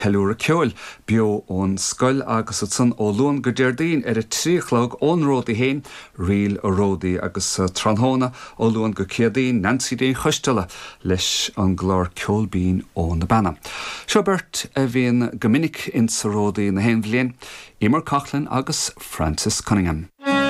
Ceiliúradh Ceoil beo ón scoil agus ansan ó Luan go Déardaoin ar a 3 a chlog ón Ródaí féin, Ríl a' Ródaí agus tráthnóna ó Luan go Céadaoin, Neansaí Ní Choisteala leis an gclár Ceol Binn ó na Beanna. Seo beirt a bhíonn go minic insa Ródaí na haon bhliain, Emer Coughlan agus Francis Cunningham.